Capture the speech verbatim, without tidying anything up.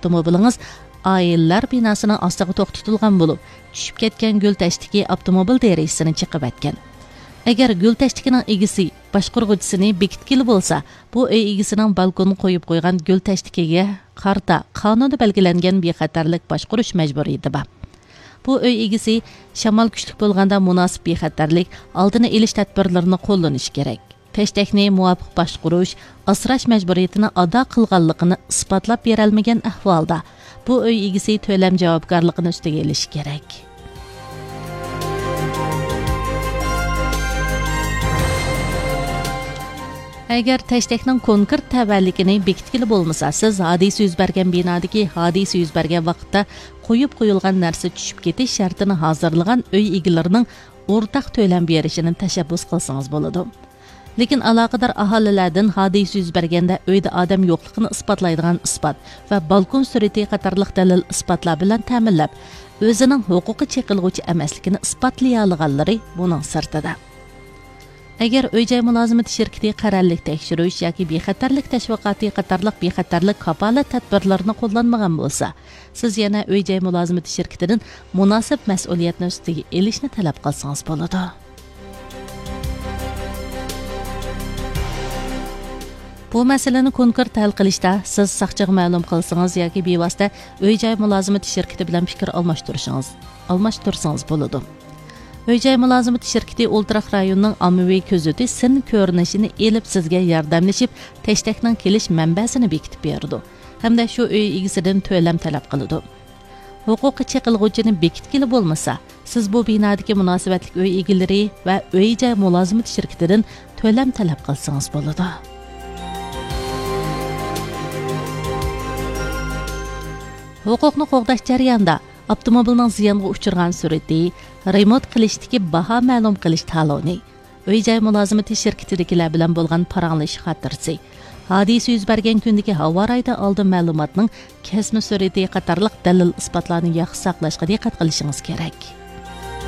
ئاپتوموبىلىڭىز ئائىلىلەر بىناسىنىڭ ئاستىغا توختىتىلغان بولۇپ، چۈشۈپ كەتكەن گۈل تەشتىكى ئاپتوموبىل دېرىزىسىنى چېقىۋەتكەن. ئەگەر گۈل تەشتىكىنىڭ ئىگىسى باشقۇرغۇچىسىنى بېكىتكىلى بولسا، بۇ ئۆي ئىگىسىنىڭ بالكونغا قويۇپ قويغان گۈل تەشتىكىگە قارىتا قانۇندا بەلگىلەنگەن بىخەتەرلىك باشقۇرۇش مەجبۇرىيىتى بار. بۇ ئۆي ئىگىسى شامال كۈچلۈك بولغاندا مۇناسىپ بىخەتەرلىك ئالدىنى ئېلىش تەدبىرلىرىنى قوللىنىشى كېرەك. تەشتەكنى مۇۋاپىق باشقۇرۇش، ئاسراش مەجبۇرىيىتىنى ئادا قىلغانلىقىنى ئىسپاتلاپ بېرەلمىگەن ئەھۋالدا، بۇ ئۆي ئىگىسى تۆلەم جاۋابكارلىقىنى ئۈستىگە ئېلىشى كېرەك. ئەگەر تەشتەكنىڭ كونكرېت تەۋەلىكىنى بېكىتكىلى بولمىسا، سىز ھادىسە يۈز بەرگەن بىنادىكى ھادىسە يۈز بەرگەن ۋاقىتتا قويۇپ قويۇلغان نەرسە چۈشۈپ كېتىش شەرتىنى ھازىرلىغان ئۆي ئىگىلىرىنىڭ ئورتاق تۆلەم بېرىشىنى تەشەببۇس قىلسىڭىز بولىدۇ. لېكىن ئالاقىدار ئاھالىلەردىن ھادىسە يۈز بەرگەندە ئۆيدە ئادەم يوقلۇقىنى ئىسپاتلايدىغان ئىسپات ۋە بالكون سۈرىتى قاتارلىق دەلىل ئىسپاتلار بىلەن تەمىنلەپ، ئۆزىنىڭ ھوقۇقى چېقىلغۇچى ئەمەسلىكىنى ئىسپاتلىيالىغانلىرى بۇنىڭ سىرتىدا. ئەگەر ئۆي جاي مۇلازىمىتى شىركىتى قەرەللىك تەكشۈرۈش ياكى بىخەتەرلىك تەشۋىقاتى قاتارلىق بىخەتەرلىك كاپالەت تەدبىرلىرىنى قوللانمىغان بولسا، سىز يەنە ئۆي جاي مۇلازىمىتى شىركىتىدىن مۇناسىپ مەسئۇلىيەتنى ئۈستىگە ئېلىشنى تەلەپ قىلسىڭىز بولىدۇ. بۇ مەسىلىنى كونكرېت ھەل قىلىشتا سىز ساقچىغا مەلۇم قىلسىڭىز ياكى بىۋاسىتە ئۆي جاي مۇلازىمىتى شىركىتى بىلەن پىكىر ئالماشتۇرۇشىڭىز، ئالماشتۇرسىڭىز بولىدۇ. ئۆي جاي مۇلازىمىتى شىركىتى ئولتۇراق رايوننىڭ ئاممىۋى كۆزىتى سىن كۆرۈنۈشىنى ئېلىپ سىزگە ياردەملىشىپ، تەشتەكنىڭ كېلىش مەنبەسىنى بېكىتىپ بېرىدۇ ھەمدە شۇ ئۆي ئىگىسىدىن تۆلەم تەلەپ قىلىدۇ. ھوقۇقى چېقىلغۇچىنى بېكىتكىلى بولمىسا، سىز بۇ بىنادىكى مۇناسىۋەتلىك ئۆي ئىگىلىرى ۋە ئۆي جاي مۇلازىمىتى شىركىتىدىن تۆلەم تەلەپ قىلسىڭىز بولىدۇ. ھوقۇقنى قوغداش جەريانىدا ئاپتوموبىلنىڭ زىيانغا ئۇچرىغان سۈرئىتى، رېمونت قىلىشتىكى باھا مەلۇم قىلىش تالونى، ئۆي جاي مۇلازىمىتى شىركىتىدىكىلەر بىلەن بولغان پاراڭلىشىش خاتىرىسى، ھادىسە يۈز بەرگەن كۈندىكى ھاۋا رايىدىن ئالدىن مەلۇماتنىڭ كەسمە سۈرئىتى قاتارلىق دەلىل ئىسپاتلارنى ياخشى ساقلاشقا دىققەت قىلىشىڭىز كېرەك.